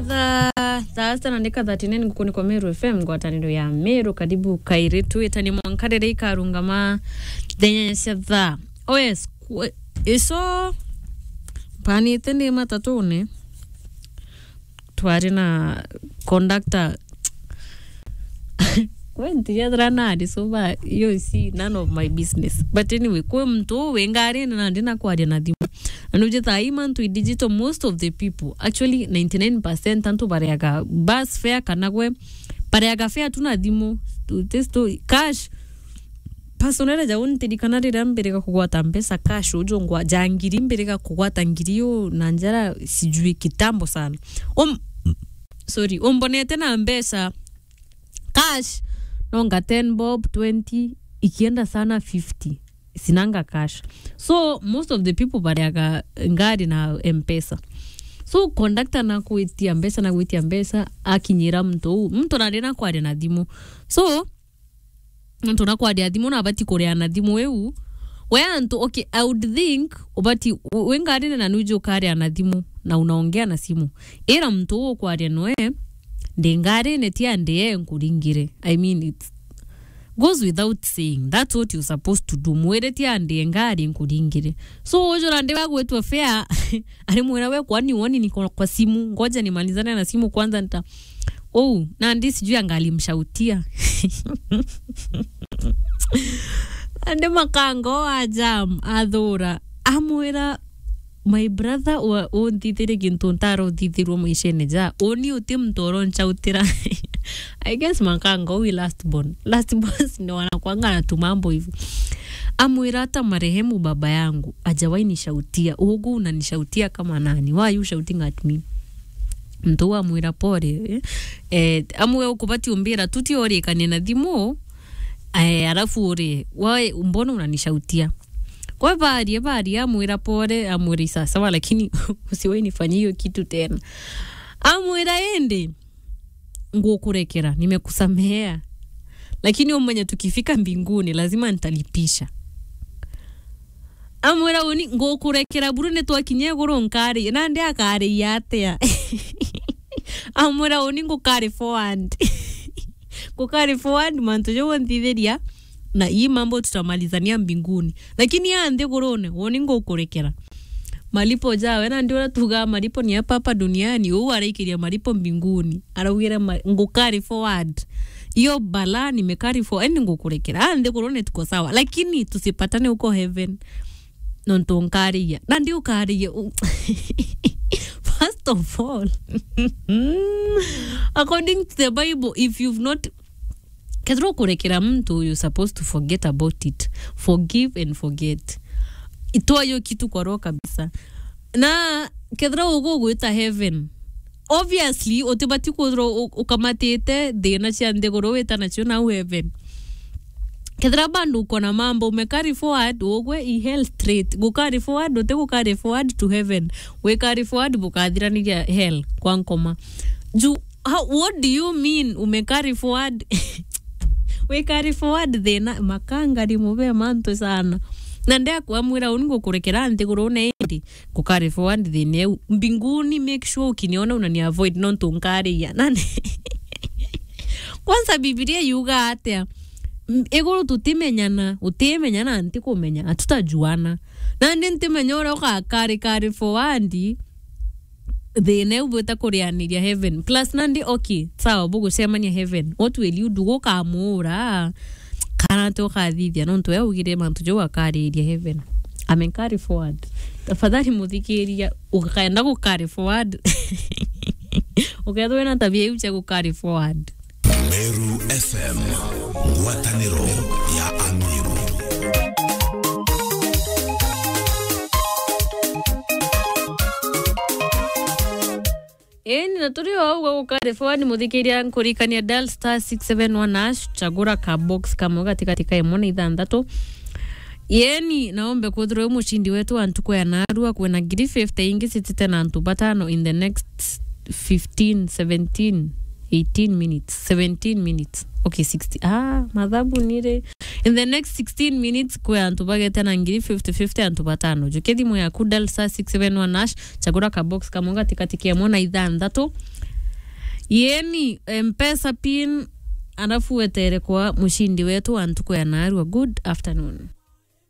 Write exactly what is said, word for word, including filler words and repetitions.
Thaa, thaa sita na ndika thirty-nine ngukuni kwa Meru F M, ngwataniro ya Meru. Karibu kairi, twitani mwanka riria ikarungama thenya cia thaa. Oh yes, kwe-, iso mpanite ndi matatune. Twari na conductor. Kwe ntiethira nari so ba, you see, none of my business. But anyway, kwi muntu uu wi ngarine na ndina kwaria na thimu. Na nuje thaa ii mantu i digital, most of the people, actually ninety-nine percent antu bareaga bus fare kana gwe, bareaga fare tu na thimu. Tu-, this tu-, cash. Personally, jau ntirikana riria mbiriga kugwata mbeca cash, uju ngwa-, ja ngiri, mbiriga kugwata ngiri uu na njara sijui kitambo sana. Um, sorry, umbonete na mbeca cash, nonga ten bob, twenty, ikienda sana fifty, sinanga cash. So, most of the people bareaga ngari na M-Pesa. So, conductor nakwitia mbeca, nakwitia mbeca, akinyira muntu uu. Muntu nari nakwaria na thimu. So, muntu nakwaria thimu na abati kuria na thimu iu. We antu, okay, I would think, ubati, u-, wi ngarine na nuju ukaria na thimu, na unaongea na simu. Ira muntu uu ukwaria noe, ndi ngarine ti andi e nkuringire. I mean, it goes without saying. That's what you're supposed to do. Mwire ti andi e ngari nkuringire. So, ujura ndi bagwitwa fare, ari mwira we, kwani woni niko kwa simu, ngoja nimalizane na simu kwanza, nita-, oh, nandi sijui angalimshautia. Nandi makanga o a jam, athura, amwira, "My brother, wa-, unthithirie gintu ntara uthithirua maishene ja, uni uti muntu uronchautira." I guess makanga uu i last born. Last born ni wanakwanga na tumambo hivi. Amwira, "Hata marehemu baba yangu hajawahi nishautia. Ugu unanishautia kama nani? Why are you shouting at me?" Muntu uu amwira, "Pole, eh." Eh, amwe ukubati umbira, tuti urikanie na thimu, eh, alafu uri, "Why, mbona unanishautia?" Kwa baria, baria, amwira, "Pole," amwira, "Sawa sawa, lakini usiwahi nifanyia hiyo kitu tena." Amwira, "Indi ngukurekera, nimekusamehea. Lakini umenye tukifika mbinguni, lazima nitalipisha." Amwira, "Uni, ngukurekera buru ni twakinya iguru nkari." Nandi akariia atia? Amwira, "Uni ngukari forward." Ngukari forward mantu jau unthithiria, na ii mambo tutamalizania mbinguni. Lakini ya nthigurune, uni ngukurekera. Malipo jawe, nandi uria tugaa malipo ni ya papa duniani, uu araikiria malipo mbinguni. Araugire ma-, ngukari forward. Iyo bala nimekari forward, yani ngukurekera. Ah, nthigurune tuko sawa. Lakini tusipatane huko heaven. Nontu nkariia. Nandi ukariia u-, first of all, according to the Bible, if you've not, kethira ukurekera muntu, you're supposed to forget about it. Forgive and forget. Itoa hiyo kitu kwa roho kabisa. Na kethira ugugwita heaven, obviously, utibati kwithirwa u-, ukamatite thina cia nthiguru wita nacio nau heaven. Kethira bandu ukona mambo, ume carry forward, ugwe i hell straight. Gu carry forward, uti gu carry forward to heaven. Wi carry forward, bukathiraniria hell kwa nkoma. Ju, how, what do you mean, ume carry forward? Wi carry forward thina, makanga rimwe be mantu sana. Na ndekwamwira uni ngukurekera nthigurune indi, ngukari forward thina iu. Mbinguni, make sure ukiniona unani avoid, nontu nkariia. Nani? Kwanza Bibilia yuga atia? M-, iguru tutimenyana, utimenyana, ntikumenya, hatutajuana. Nandi ntimenya uria ugakari, kari forward, thina iu bwita kurianiria heaven. Plus nandi, okay, sawa, bugucemania heaven. What will you do? Gukamuura? Kana ti ukathithia, nontu we augire mantu jau akariiria heaven. Ame carry forward. Tafadhali muthikiria, ukaenda gu carry forward. Ukethirwa wina tabia iu cia gu carry forward. Meru F M, ngwataniro ya Ameru. Eni, na turi o au gwa gukari forward, muthikiria, nkurikania dial star six seven one hash, chagura ka box kamwe gatigati ka imwe na ithanthatu. Yeni, naombe kwithirwa wi mucindi wetu wa ntuku ya narua, kwina ngiri fifty ingi citite na antu batano in the next fifteen, seventeen, eighteen minutes, seventeen minutes. Okay, sixty. Ah, mathabu nire. In the next sixteen minutes, kwi antu bagete na ngiri fifty fifty, antu batano. Jukia thimu yaku, dial star six seven one hash, chagura ka box kamwe gatigati ka imwe na ithanthatu. Yeni, Mpesa pin, alafu wetere kwa mushindi wetu wa ntuku ya narua. Good afternoon.